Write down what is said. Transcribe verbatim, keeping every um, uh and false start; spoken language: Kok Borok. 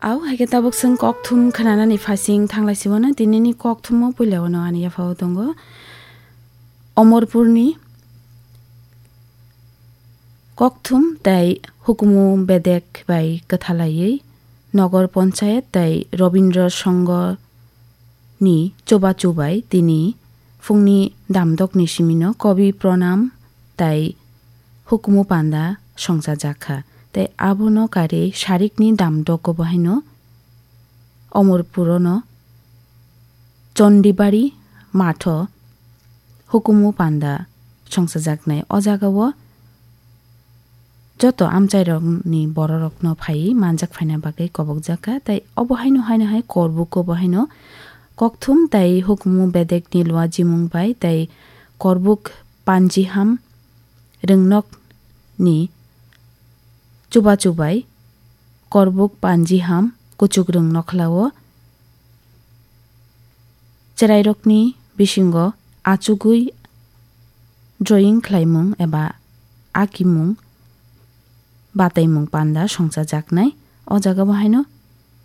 Au, hai khe tabuk chwng kokthum khwnanani phasing thanglai sibona, tinini kokthumo puilao no ani yaphao tongo. Omorpurni kokthum tei hukumu bedek bai kwthalaiwi Nogor Ponchayat tei Robindra Songho ni chubachu bai tini phungni damdokni simino kobi pranam tei hukumu panda songchajak kha. Tei abono karwi sarikni damdogo bo haino Omorpurono Chondibari matho hukumu panda songchajaknai. O jagao joto amchairokni bororokno phaiwi manjak phaina bagwi kobokjak kha. Tei obo haino haino hai Korbuko bo haino kokthum tei hukumu bedekni luajimung bai tei Korbuk panjiham rwngnokni chubachu bai Korbuk panjiham kuchukrwng nokhlao cherairokni bisingo achugwi drawing khlaimung eba akimung bataimung panda songchajaknai. O jagao haino